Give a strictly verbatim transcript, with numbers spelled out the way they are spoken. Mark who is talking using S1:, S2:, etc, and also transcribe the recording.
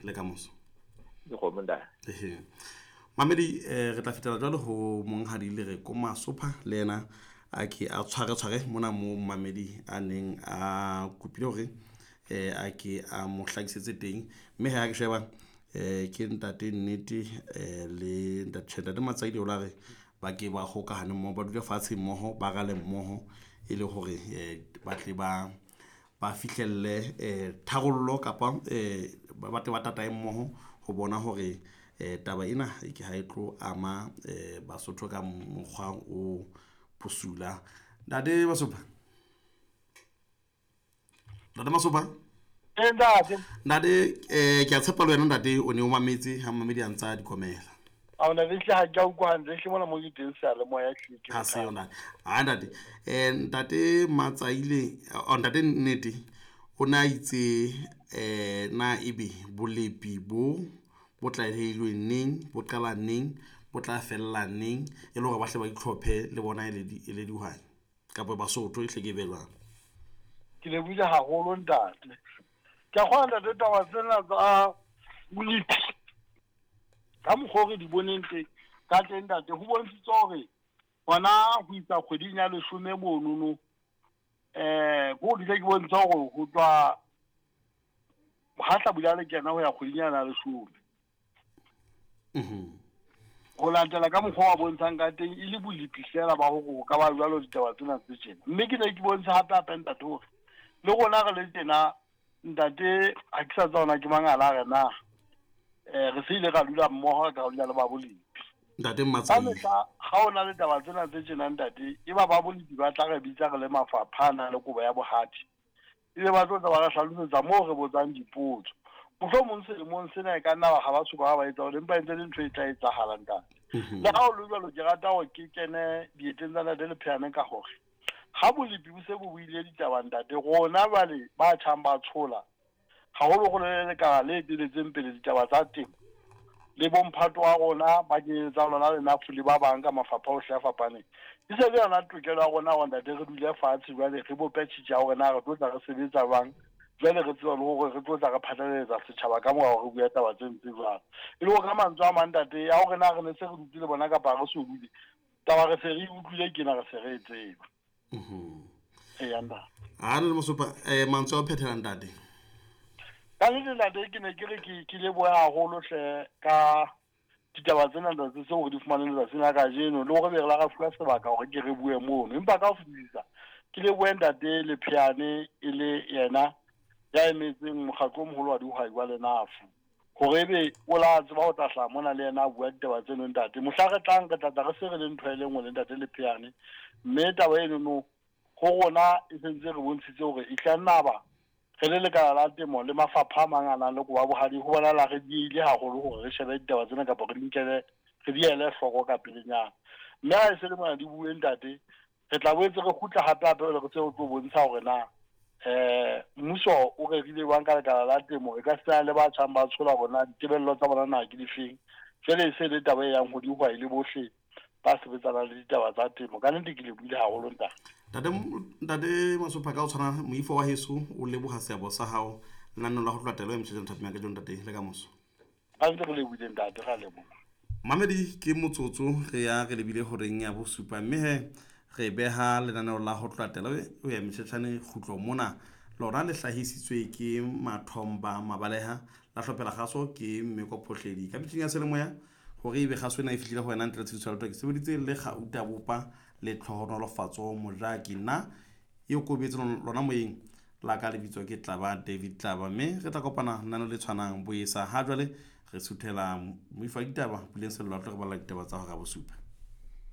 S1: Le kamoso.
S2: Dikgomo ntate.
S1: Ehe. Mamedi, eh, re tla fetela jwale ho monghadi le re ko Masopha le yena a ke a tshware tshware mona mo mamedi a neng a kopile hore eh a ke a mo hlakisetse teng, mme ha ke sheba eh ke ntate Nnete eh le ntate ntate Matsaidi o la re ba ke ba hokahane mmoho, ba dule fatshe mmoho, ba rale mmoho e le hore eh ba tle ba ba fihlelle eh tharollo kapa eh ba tle ba tatae mmoho ho bona hore eh taba ena e ke ha e tlo ama eh Basotho ka mokgwa o bosula. Ntate Masopha, ntate Masopha.
S3: Ee, ntate.
S1: Ntate, eh ke a tshepa le wena ntate o ne o mametse ha mamedi a ntsa dikomela.
S3: A ona le hle ha ke a utlwa hantle, hle mona mo ke teng seyalemoya hle ke
S1: Ha se
S3: bothata.
S1: yona. Ha ntate, eh ntate Matsaile, oh, ntate Nnete o na itse eh na ebe bolepi bo bo tlalehilweng neng, bo qala neng, bo tla fella neng, e le hore ba hle ba itlhophe le bona e le di- e le dihwai kapa Basotho e hle ke be jwang.
S3: Ke lebohile haholo ntate. Ke a kgolwa ntate taba tsena tsa bolepi ka mokgwa o re di boneng teng ka teng ntate, ho bontshitse hore hona ho isa kgweding ya leshome monono, eh ko dile ke bontsha hore ho tswa ha hlabula le kena ho ya kgweding yana ya leshome.
S1: Mhm.
S3: Ho latela ka mokgwa wa bontshang ka teng e le bolepi fela ba hore ho ka ba jwalo ditaba tsena tse tjena. Mme ke ne ke bontsha hape hape ntate hore le rona re le tjena ntate, ha ke sa tseba hore na ke mang a la re na eh re se ile ra dula mmoho, re ka dula le ba bolepi.
S1: Ntate
S3: Ka
S1: Matsaile.
S3: mehla ha o na le taba tsena tse tjena ntate, e ba ba bolepi ba tla re bitsa re le mafapha a nang le kobo ya bohadi, ebe ba tlo tla ba re hlalosetsa moo re botsang dipotso. Mohlomong selemong sena e ka nna ba ha ba soka ba ba etsa hore empa e ntse le ntho e tla etsahala ntate.
S1: Mhm.
S3: Le ha o le jwalo, ke rata hore ke kene dieteng tsa ntate Lepheane ka hore ha bolepi bo se bo buile ditaba ntate, rona jwale ba tjhang ba tshola haholoholo le lekala le eteletseng pele ditaba tsa temo le bomphato wa rona ba kenyeletsang lona le NAFU le ba bang ka mafapha ohle a fapaneng. E se le yona tokelo ya rona hore ntate re dule fatshe jwale re bope tjhitja ya hore na re tlo tla re sebetsa jwang, jwale re tseba le hore re tlo tla re phatlalatsa setjhaba ka mora hore re bue taba tse ntse jwalo. E le hore ka mantswe a mang ntate, ya hore na re ne se re dutse le bona kapa re so dule, taba re se re e utlwile ke na re se re e tseba.
S1: Mhm.
S3: Eya ntate.
S1: Ha le Masopha, eh mantswe a ho phethela ntate.
S3: Ka nnete ntate, ke ne ke re ke ke lebohe haholo hle ka ditaba tsena ntate tseo re di fumaneng letsatsing la kajeno, le hore be re la ra fuwa sebaka hore ke re bue mono. Empa ka ho fetisisa ke lebohe ntate Lepheane e le yena ya emetseng mokgatlo o moholo wa dihwai wa Lenafu, hore ebe o la tseba ho tla hlaha mona le yena a bua ditaba tseno ntate. Mohla re tlang re tla tla re se re le ntho e le nngwe le ntate Lepheane, mme taba enono ho rona e sentse re bontshitse hore e tla nna ba re le lekala la temo le mafapha a mang a nang le kobo ya bohadi, ho bonahala re diehile haholo hore re shebe ditaba tsena kapa re di nkele, re di ele hloko ka pelenyana. Mme ha e se le mona di bue ntate, re tla boetse re kgutla hape hape re tse re tlo bontsha hore na eh mmuso o rerile jwang ka lekala la temo, e ka se le ba tjhang ba tshola hore na ditebello tsa bona na ke difeng. Jwale e se le taba e yang ho dihwai le bohle ba sebetsanang le ditaba tsa temo. Ka nnete ke lebohile haholo ntate.
S1: Ntate, ntate Masopha, ka o tshwana moifo wa heso o leboha seabo sa hao lenaneo la ho tloha telo e motjhetjana thapeng ya kajeno ntate, le kamoso.
S3: Ka nnete re lebohile ntate, re a leboha.
S1: Mamedi, ke motsotso re ya re lebile horeng ya bosupa, mme he re beha lenaneo la ho tloha telo o ya motjhetjhane kgutlo mona. Lona le hlahisitswe ke Mathomba Mabaleha, la hlophela kgaso ke Mmeko Phohledi. Ka metjhini ya selemoya hore ebe kgaso ena e fihlile ho wena ntle le tshebediso ya letho, ke sebeditse le Gauta Bopa le Tlhohonolofatso Mojaki. Nna eo ko beetse lona moyeng la ka lebitso ke Tlaba David Tlaba, mme re tla kopana lenaneo le tshwanang boesa. Ha jwale re suthela moifo wa ditaba Puleng Sello, a tlo re balla ditaba tsa hora ya bosupa.